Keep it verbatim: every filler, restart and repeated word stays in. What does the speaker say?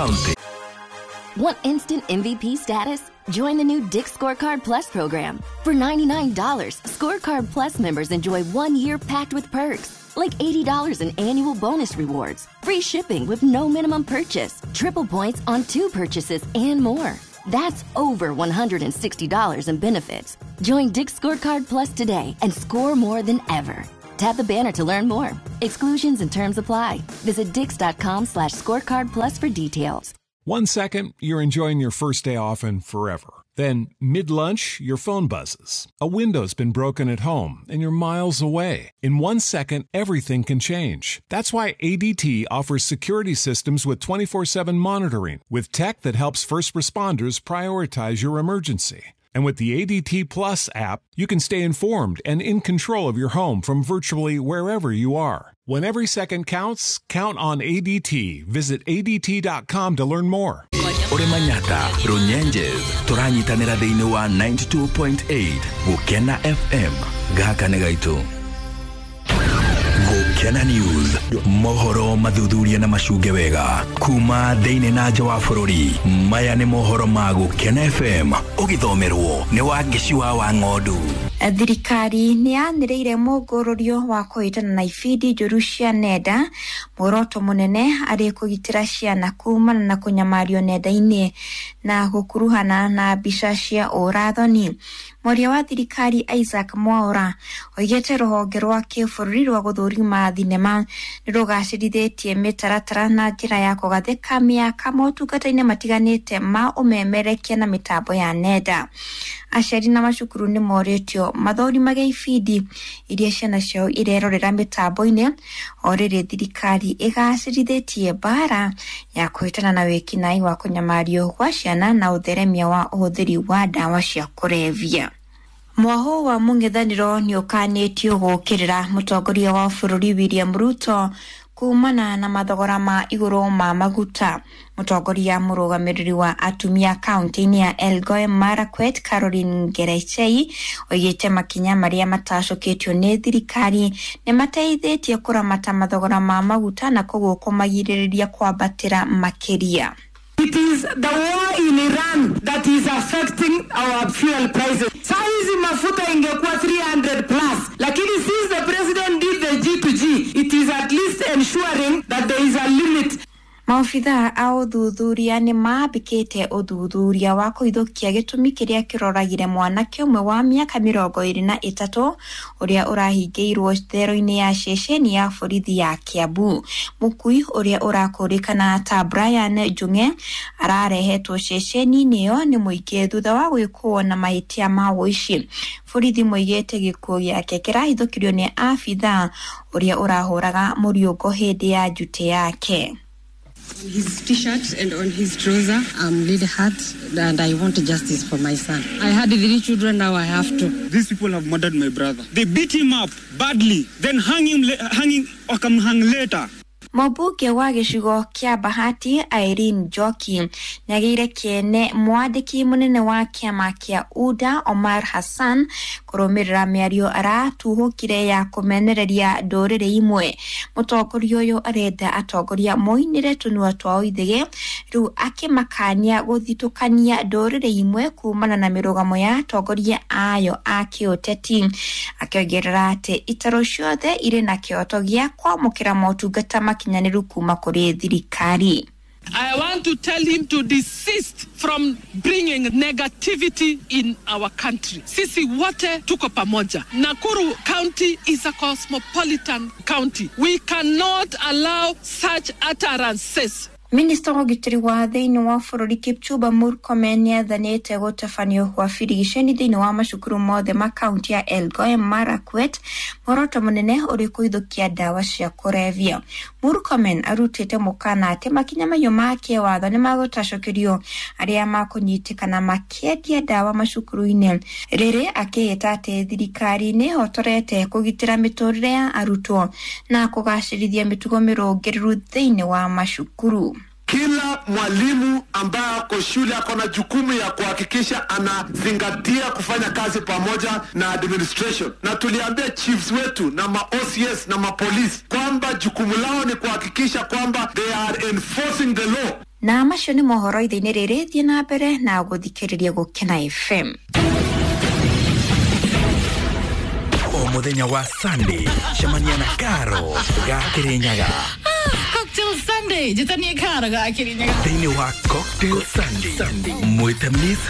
County. Want instant M V P status? Join the new Dick's Scorecard Plus program. For ninety-nine dollars, Scorecard Plus members enjoy one year packed with perks, like eighty dollars in annual bonus rewards, free shipping with no minimum purchase, triple points on two purchases, and more. That's over one hundred sixty dollars in benefits. Join Dick's Scorecard Plus today and score more than ever. Tap the banner to learn more. Exclusions and terms apply. Visit dicks.com slash scorecard plus for details. One second, you're enjoying your first day off and forever. Then, mid-lunch, your phone buzzes. A window's been broken at home, and you're miles away. In one second, everything can change. That's why A D T offers security systems with twenty-four seven monitoring, with tech that helps first responders prioritize your emergency. And with the A D T Plus app, you can stay informed and in control of your home from virtually wherever you are. When every second counts, count on A D T. Visit A D T dot com to learn more. Ore Manyata, Runyenjes, turanyitanĩra thĩinĩ wa ninety-two point eight Gũkena F M. Gaka nĩ gaitũ. Gũkena News, mohoro mathuthuria na macunge wega kuma thĩinĩ na nja wa bũrũri. Maya nĩ mohoro ma Gũkena F M, ũgĩthomerwo nĩ Wangeci wa Wang'ondu. Thirikari nĩ yanĩrĩire mũngũrũrio wa kũhĩtana na ibindi njũru cia nenda, muoroto mũnene arĩ kũgitĩra ciana kumana na kũnyamario nenda-inĩ na gũkuruhana na mbica cia ũrathoni. Mwaria wa thirikari Isaac Mwaura oigĩte rũhonge rwa kĩbũrũri rwa gũthũrima thinema nĩ rũgacĩrithĩtie mĩtaratara na njĩra ya kũgathĩka mĩaka motungata-inĩ matiganĩte ma ũmemerekia na mĩtambo ya nenda. Aciari na macukuru nĩ morĩtio mathorimage ibindi iria ciana ciao irerorera mĩtambo-inĩ o rĩrĩ thirikari ĩgacĩrithĩtie mbara ya kũhĩtana na wĩkinaĩ wa kũnyamario gwa ciana na ũtheremia wa ũhũthĩri wa ndawa cia kũrebia. Mwaho wa mũng'ethanĩro nĩ ũkanĩtio gũũkĩrĩra mũtongoria wa bũrũri William Ruto kumana na mathogora ma igũrũ ma maguta. Mũtongoria mũrũgamĩrĩri wa atumia kaunti-inĩ ya Elgeyo Marakwet Caroline Ngerechei oigĩte makinya marĩa matacũkĩtio nĩ thirikari nĩ mateithĩtie kũramata mathogora ma maguta na koguo kũmagirĩrĩria kwambatĩra makĩria. It is the war in Iran that is affecting our fuel prices. Saa hizi mafuta ingekuwa three hundred plus, lakini since the president did the G to G, it is at least ensuring that there is a limit. Maobithaa a ũthuthuria nĩ mambĩkĩte ũthuthuria wa kũhithũkia gĩtũmi kĩrĩa kĩroragire mwanake ũmwe wa mĩaka mĩrongo ĩrĩ na ĩtatũ ũrĩa ũrahingĩirwo thero-inĩ ya ceceni ya borithi ya Kiambu. Mũkui ũrĩa ũrakũrĩkana ta Brian Njung'e ararehetwo ceceni-inĩ ĩyo nĩ mũingĩ thutha wa gwĩkwo na mahĩtia ma ũici. Borithi moigĩte gĩkuũ gĩake kĩrahithũkirio nĩ abithaa ũrĩa ũrahũraga mũriũngo hĩndĩ ya njutĩ yake. On his t-shirt and on his trouser, I'm really hurt and I want justice for my son. I had three children, now I have two. These people have murdered my brother. They beat him up badly, then hang him, hang him, or come hang later. Mũmbunge wa gĩcigo kĩa Bahati Irene Njoki nĩagĩire kĩene mwandĩki mũnene wa kĩama kĩa U D A Omar Hassan kũrũmĩrĩra mĩario aratuhũkire ya kũmenereria ndũrĩrĩ imwe. Mũtongoria ũyũ arenda atongoria moinĩre tũnua twao ithĩgĩ rĩu akĩmakania gũthitũkania ndũrĩrĩ imwe kumana na mĩrũgamo ya atongoria ayo a kĩũteti, akĩongerera atĩ itaro ciothe irĩ na kĩhoto gĩa kwamũkĩra motungata makinyanĩru kuma kũrĩ thirikari. I want to tell him to desist from bringing negativity in our country. Sisi wote tuko pamoja. Nakuru County is a cosmopolitan county. We cannot allow such utterances. Minista wa ũgitĩri wa thĩinĩ wa bũrũri Kipchumba Murkomen nĩathanĩte gũtabanio kwa birigiceni thĩinĩ wa macukuru mothe ma kaunti ya Elgeyo Marakwet, muoroto mũnene ũrĩ kũhithũkia ndawa cia kũrebia. Murkomen arutĩte mũkana atĩ makinya mahiũ ma kĩwatho nĩmagũtacũkĩrio arĩa makũnyitĩkana makĩendia ndawa macukuru-inĩ, rĩrĩ akĩhĩta atĩ thirikari nĩĩhotorete kũgitĩra mĩtũrĩre ya arutwo na kũgacĩrithia mĩtugo mĩrũngĩrĩru thĩinĩ wa macukuru. Kila mwalimu ambaye ako shule ako na jukumu ya kuhakikisha anazingatia kufanya kazi pamoja na administration. Na tuliambia chiefs wetu na ma O C S na ma police kwamba jukumu lao ni kuhakikisha kwamba they are enforcing the law. Na macio nĩ mohoro ithe-inĩ rĩrĩ, thiĩ na mbere na gũthikĩrĩria Gũkena F M. O muthenya wa Sunday cemania na Karo ga Kirinyaga. Cocktail Sunday, njĩtanie Karo ga Kirinyaga thĩinĩ wa Cocktail Sunday. Mwĩte Miss